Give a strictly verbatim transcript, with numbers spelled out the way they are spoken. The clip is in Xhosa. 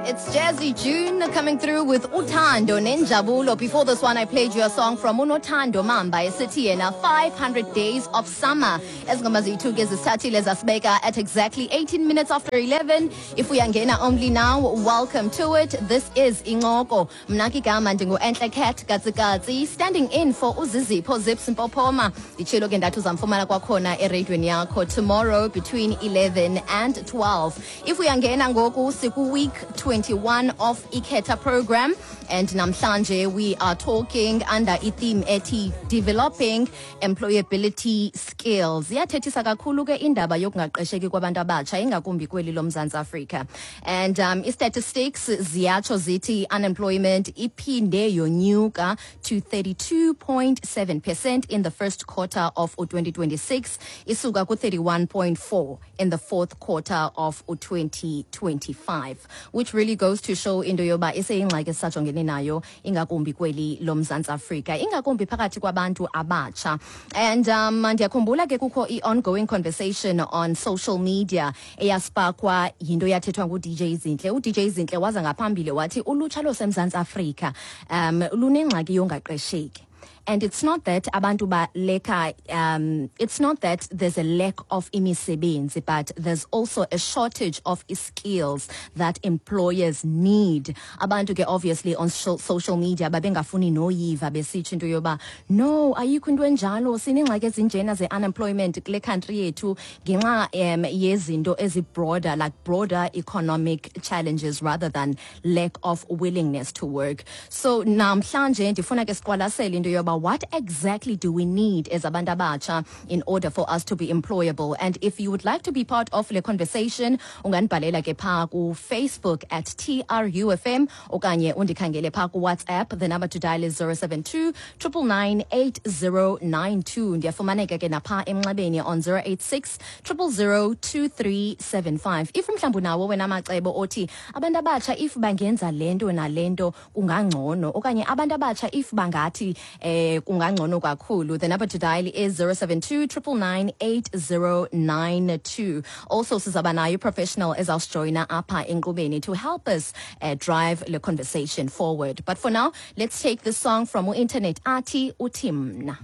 It's Jazzy June coming through with Uthando Nenjabulo. Before this one, I played you a song from Unothando Mamba, esithi yena five hundred Days of Summer. Ezingoma zethu ke zisithathile zasibeka at exactly eighteen minutes after eleven. If uyangena only now, welcome to it. This is Incoko. Mna ke igama ndingu-Enhle Cat Katsikatsi, standing in for uZizipho Zips Mpopoma. Nditshilo ke ndathi uzamfumana kwakhona ereyidweni yakho tomorrow between eleven and twelve. If uyangena ngoku, siku-week twenty-one of iKhetha program, and namhlanje we are talking under i-theme ethi developing employability skills. Iyathethisa kakhulu ke indaba yokungaqesheki kwabantu abatsha, ingakumbi kweli loMzantsi Afrika, and um, i-statistics ziyatsho zithi unemployment iphinde yonyuka to thirty-two point seven percent in the first quarter of twenty twenty-six, isuka ku-thirty-one point four in the fourth quarter of twenty twenty-five, which really goes to show into yoba iseyingxaki esisajongene nayo, ingakumbi kweli loMzantsi Afrika, ingakumbi phakathi kwabantu abatsha. And um ndiyakhumbula ke kukho i-ongoing conversation on social media eyaspakwa yinto yathethwa ngu-D J Zinhle. U-D J Zinhle waza ngaphambili wathi ulutsha lwaseMzantsi Afrika um lunengxaki yongaqesheki, and it's not that abantu baleka, um it's not that there's a lack of imisebenzi, but there's also a shortage of skills that employers need. Abantu ke obviously on social media babengafuni noyiva, besitsho into yoba no, ayikho into enjalo, sinengxaki ezinjena ze-unemployment kule country yethu ngenxa um yezinto ezi-broader, like broader economic challenges rather than lack of willingness to work. So namhlanje ndifuna ke siqwalasele into yoba what exactly do we need as abantu abatsha in order for us to be employable. And if you would like to be part of le conversation, ungandibhalela ke phaa kuFacebook at T R U F M okanye undikhangele phaa kuWhatsApp. The number to dial is zero seven two nine nine nine eight zero nine two. Ndiyafumaneka ke naphaa emnxebeni on zero eight six zero zero two three seven five. If mhlawumbi unawo wena amacebo othi abantu abatsha if bangenza le nto nale nto kungangcono, okanye abantu abatsha if bangathi eh kungangcono kakhulu, the number to dial is zero seven two nine nine nine eight zero nine two. Also sizaba nayo professional ezawusijoyina apha enkqubeni to help us uh, drive the conversation forward. But for now, let's take this song from internet athi uthi mna.